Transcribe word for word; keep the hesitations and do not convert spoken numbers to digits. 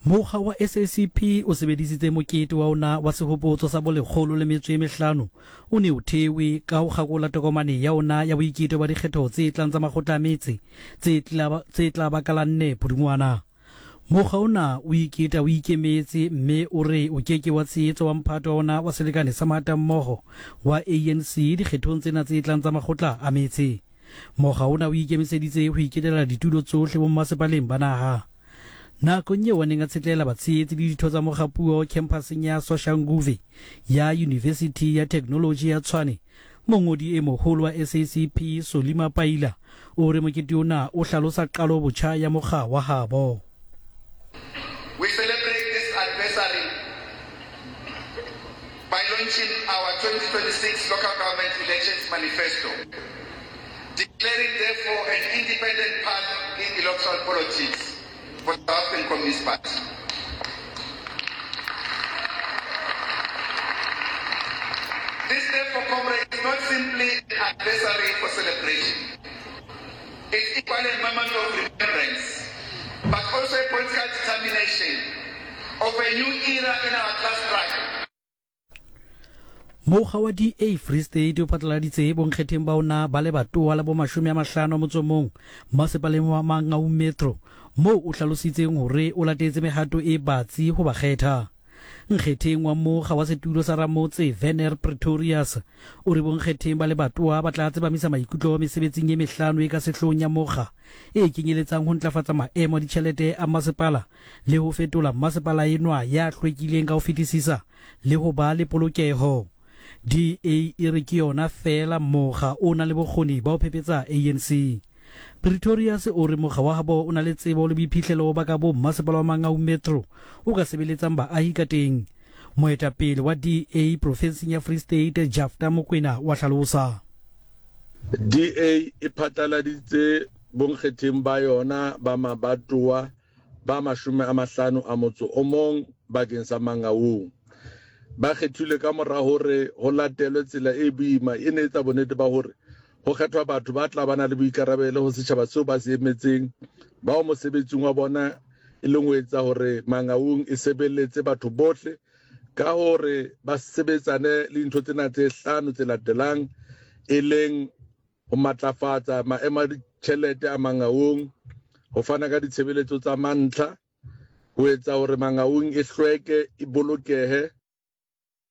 Mokga wa S A C P o sebedisitse mokete wa ona wa sehopotso sa bolekgolo le metso e mehlano o ne o thewe ka ho kgakola tokomane ya ona ya boiketo ba dikgetho tse tlang tsa makgotla a metse tse tla ba ka la nne Pudungwana. Mokga ona o iketa o ikemetse mme o re o keke wa tshehetsa wa mphato wa ona wa selekane sa mahatammoho wa A N C dikgethong tsena tse tlang tsa makgotla a metse. Mokga ona o ikemiseditse ho iketela ditulo tsohle bommasepaleng ba naha. Nakong eo a neng a tshetlela batshehetsi le ditho tsa mokgapuo kemphaseng ya Soshanguve ya Yunivesithi ya Theknoloji ya Tshwane, mongodi e moholo wa S A C P Solly Mapaila o re mokete ona o hlalosa qalo botjha ya mokga wa habo. We celebrate this anniversary by launching our twenty twenty-six local government elections manifesto, declaring therefore an independent path in electoral politics for the South African Communist Party. This therefore, comrades, is not simply an anniversary for celebration. It's equally a moment of remembrance, but also a political determination of a new era in our class struggle. Mokga wa D A Free State o phatlaladitse bonkgetheng ba ona ba lebatowa la bomashome a mahlano a motso o mong masepaleng wa Mangaung Metro, moo o hlalositseng hore o latetse mehato e batsi ho ba kgetha. Nkgetheng wa mokga wa setulo sa ramotse Werner Pretorius o re bonkgetheng ba lebatowa ba tla tsepamisa maikutlo mesebetsing e mehlano e ka sehloohong ya mokga, e kenyeletsang ho ntlafatsa maemo a ditjhelete a masepala le ho fetola masepala enwa ya hlwekileng ka ho fetisisa le ho ba le polokeho. D A e re ke yona feela mokga o nang le bokgoni ba ho phephetsa A N C. Pretorius o re mokga wa habo o na le tsebo le boiphihlelo ba ka bo mmasepala wa Mangaung Metro o ka sebeletsang baahi ka teng. Moetapele wa D A profenseng ya Free State Jafta Mokwena wa hlalosa. D A e phatlaladitse bonkgetheng ba yona ba mabatowa ba mashome a mahlano a motso o mong bakeng sa Mangaung. Ba kgethilwe ka mora hore ho latelwe tsela e boima e ne etsa bonnete ba hore ho kgethwa batho ba tla ba na le boikarabelo ho setjhaba seo ba se emetseng, bao mosebetsing wa bona e leng ho etsa hore Mangaung e sebeletse batho bohle ka hore ba sebetsane le dintho tsena tse hlano tse latelang, e leng ho matlafatsa maemo a ditjhelete a Mangaung, ho fana ka ditshebeletso tsa mantlha, ho etsa hore Mangaung e hlweke, e bolokehe.